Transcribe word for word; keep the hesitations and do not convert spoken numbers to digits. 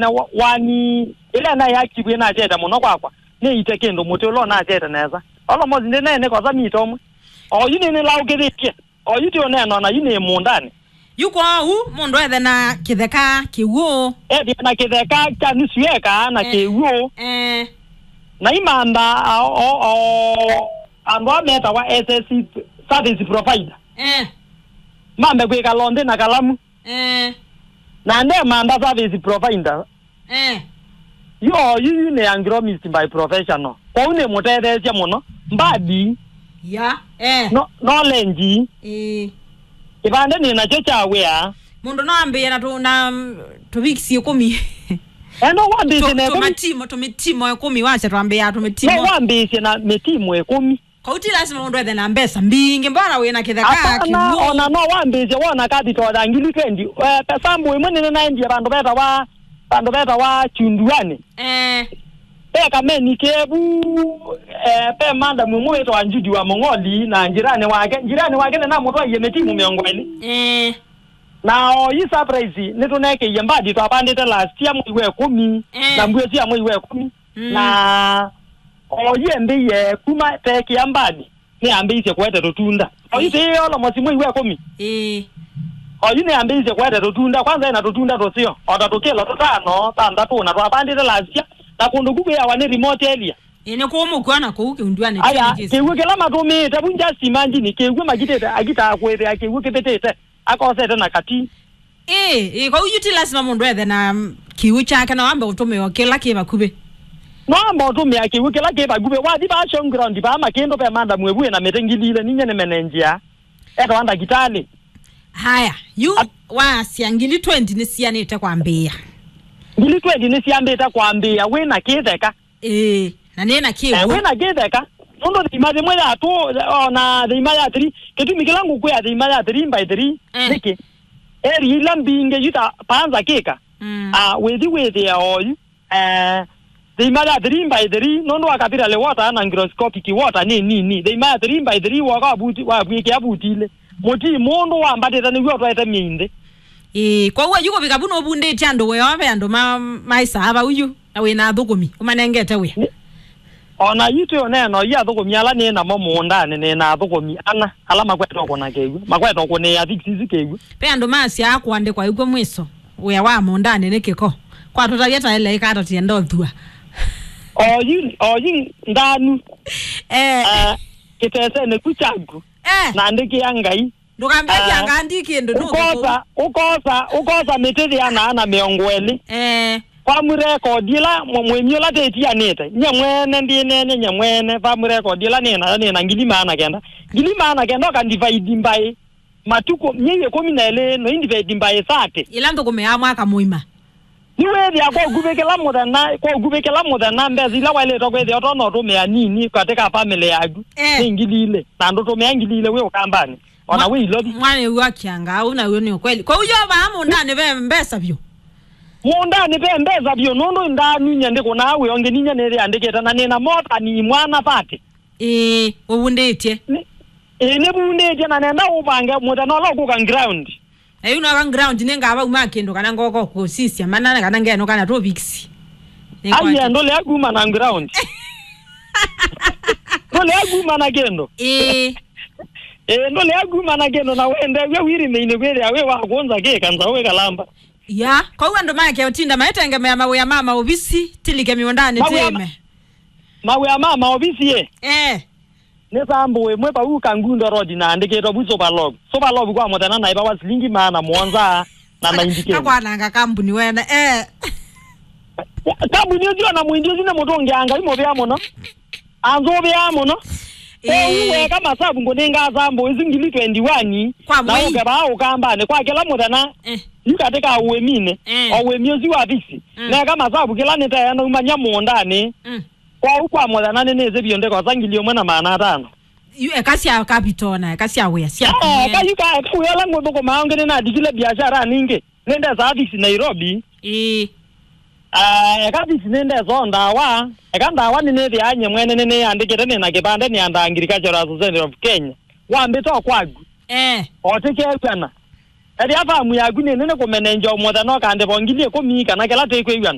na wa-, wani, ĩla naĩ active ĩnachete mũno kwakwa, nĩite kĩndũ mũtĩ ũla ũnachete nesa. Almost ndĩneenĩkosa mita ũmwe. Oyu nĩnĩlaũkĩthĩtye. Oyu ti ũneena ona yu nĩ mũũndanĩ. Yu kwoou, mũndũ ethe na kĩtheka kĩw'ũ. Ethĩa na kĩtheka kya nusu eka na eh, kĩw'ũ. Eh. Na imantha a, o, o, andũ a metawa S S C service provider. Eh. Mambe kwĩkala nthĩ na kalamu. Eh. Na ndemantha service provider. Eh. Yo, yu, yu nĩ agronomist by professional. Kwoou nĩ mũtetheesya mũno. Mbadi. Ya, eh. No, knowledge. Eh. Kĩvande nĩ nakyo kya wĩa. Mũndũ no ambĩĩe na tũ-, na, mm, tũvikisi ĩkũmi. Eh, no wambĩĩsye na ĩkũmi. Tũmatimo, tũmĩtimo ĩkũmi, wasya twambĩĩaa tũmĩtimo. No wambĩĩsye na mĩtimo ĩkũmi. Kau ti lasima mũndũ ethe na mbesa mbingĩ, mbona wĩ na kĩtheka kĩw'ũ. Ona no wambĩĩsye wona capital ya ngili twenty. Eh, sample ĩmwe nĩnĩnaendie vandũ vetawa, vandũ vetawa Chunduani. Eh. Ve kameni kevu, eh, ve madam ũmwe wĩtawa Judy wa Mong'oli na njirani wake. Njirani wake nĩnamũtwaie mĩtimu mĩongo ĩlĩ. Eh. Na oyu surprise nĩtũnekeie mbadi twavandĩte last year mwei wa ĩkũmi, eh, na mbuo sya mwei wa ĩkũmi. Mm. Na oyu embĩie kuma tekĩa mbadi, nĩambĩisye kũete tũtunda. Oyu ti almost mwei wa ĩkũmi. Ĩĩ. Oyu nĩambĩisye kũete tũtunda, kwanza ena tũtunda tũseo, o ta tũkĩlo tũtano, thanthatũ, na twavandĩte last year, na kũndũ ku kwĩawa nĩ remote area. Ĩĩ, nĩ kũũ mũkwona kũu kĩunduanĩ. Aya, kĩw'ũ kĩla matũmĩĩte vu, just imagine, kĩw'ũ makitĩte, akitaa kwĩthĩa kĩw'ũ kĩvĩtĩte, akosete na kati. Ĩĩ, ĩĩ, kwoou yu ti lasima mũndũ ethe na, mm, kĩw'ũ kyake, no ambe ũtũmĩa o kĩla kĩ vakuvĩ. No ambe ũtũmĩa kĩw'ũ kĩla kĩ vakuvĩ. Wathi vaa showground vaa Makĩndũ ve madam ĩvu ĩna mĩtĩ ngili ilĩ, ninyie nĩmenenjia. Etawa ndakĩtalĩ. Haya, yu at- wasya ngili twenty nĩsianĩte kwambĩĩa. Ngili twenty nĩsiambĩte kwambĩĩa wĩ na kĩtheka. Ĩĩ, na nĩ na kĩw'ũ. Eh, wĩ na kĩtheka. Nũndũ thima yĩmwe ya two, ona thima ya three, kĩtumi kĩla ngũkwĩa thima ya three by three, eh, nĩkĩ? Area ila mbingĩ yu ta panza kĩka. Mm. Ah, wĩthi wĩthĩa oyu. Eh, thima ya three by three, nũndũ wa capillary water na hygroscopic water nĩ nini. Thima ya three by three woka wavuti-, wavw'ĩkĩa vutilĩ. Mũtii mũndũ wambatĩte nĩw'o ũtwaĩte myei nthĩ. Ĩĩ, kwoou ayu kũvika vu nũvundĩtye andũ wĩa, ve andũ ma-, maĩsaa vau yu, na wĩ na athũkũmi, ũmanengete wĩa. Nĩ-, o na yu twĩ ũneena, yu athũkũmi ala nĩ namo mũũndanĩ, nĩ na athũkũmi ana, ala makwete ũkũna kĩw'ũ, makwete ũkũnĩĩa fix isu kĩw'ũ. Ve andũ masyaa kũandĩkwa ĩkw'o mwĩso, wĩa wa mũũndanĩ nĩ kĩko. Kwatũtavya ta ĩla ĩkata tienda ũthua. Oyu, oyu ndanu. Eh. Ah, kĩtesenĩ ku kyaku. Eh. Naandĩkĩa Ngai. Ndũkambĩe ah, kĩanga ndi kĩndũ, nũkũkũ. Ũkosa, ũkosa, ũkosa mĩtĩ yĩana na mĩongo ĩlĩ. Eh. Farm record ĩla mũ-, mũĩmi ũla tĩtianĩte. Nye mwene ndĩneenye nye mwene. Farm record ĩla nĩ nayo nĩ na ngili maana kenda. Ngili maana kenda ũka divide by matukũ, myei ĩkũmi na ĩlĩ, no divide by thirty. Ĩla nthũkũmĩaa mwaka mũima. Nĩwĩthĩa kwa ũkuvĩ kĩla mũthenya, kwa ũkuvĩ kĩla mũthenya, mbesa ila waĩlĩte kwĩthĩa ũtonya ũtũmĩa nini katĩ ka family yaku, eh, nĩ ngili ilĩ, na ndũtũmĩa ngili ilĩ wĩ ũkambanĩ, ona mwa-, wĩ Ilovi. Mwana ũyũ akĩanga, au naw'o nĩ ũkweli. Kwa hiyo vaa mũũndanĩ ve mbesa vyũ? Mũũndanĩ ve mbesa vyũ, nũndũ ndanu nye ndĩkũnaa wĩ ũngĩ ninyie nĩyĩandĩkĩte, na nĩna mota ni mwana thirty. Ĩĩ, ũvundĩtye. Nĩ-, ĩĩ, nĩvundĩtye, na nenda ũvange mũthenya ũla ũkũka ground. Eyu noka ground nĩngavauma kĩndũ kana ngoka kũsisya mana kana ngenũka na tũviksi. Aiye, ndũlea kuma na ground. Ndũlea kuma na kĩndũ. Ĩĩ. Ĩĩ, ndũlea kuma na kĩndũ na wendew'a wĩrĩmĩinĩ kwĩthĩa wĩ wa kũnza kĩka nzaũ wĩkalamba. Ya, kwoou andũ make ũtinda maitengemea mawĩa ma maovisi, tilike mĩũndanĩ. Mawĩa ma-, tĩĩme. Mawĩa ma maovisi, ĩ? Eh. Nĩ sample ĩmwe vau Kangundo Road naandĩkĩtwe vu Superlog. Superlog kwa mũthenya naĩvawa silingi maana mũonza na ninety kenda. Kakwananga kambuni wene, eh. Kambuni ũcio na mwindi ũcio nĩ mũtũngĩa Ngai mũvea mũno. Anzũvĩaa mũno. Ĩĩ. Kwoou weka masavu ngũnenga sample isu ngili twenty-one. Kwa na mwei. Ũke vaa ũkambanĩ kwa kĩla mũthenya. Eh. Yu katĩ ka ũĩminĩ. Eh. O ũĩmi ũsu wa fisi. Mm. Neka masavu kĩla nĩtee naumany'a mũũndanĩ. Mm. Kwoou kwa mũthenya nĩnĩsĩ vyũ ndĩkosa ngili ĩmwe na maana atano. Yu eka sya capital na eka sya wĩa sya eh, kũmwe. Eka yu ka, eka wĩa ũla ngũthũkũmaa ũngĩ nĩnandikile biashara ningĩ. Nĩndesaa fix Nairobi. Ĩĩ. Ah, eka fix nĩndesaa ndawa. Eka ndawa nĩnĩthĩaa nye mwene nĩnĩandĩkĩte nĩ na kĩvandĩ nĩ under Agricultural Society of Kenya. Wambĩta o kwaku. Eh. Otĩkew'ana. Ethĩa famu yaku nĩ nene kũmenenja o mũthenya ũkandĩva o ngili ĩkũmi kana kĩla tũikwĩw'ana.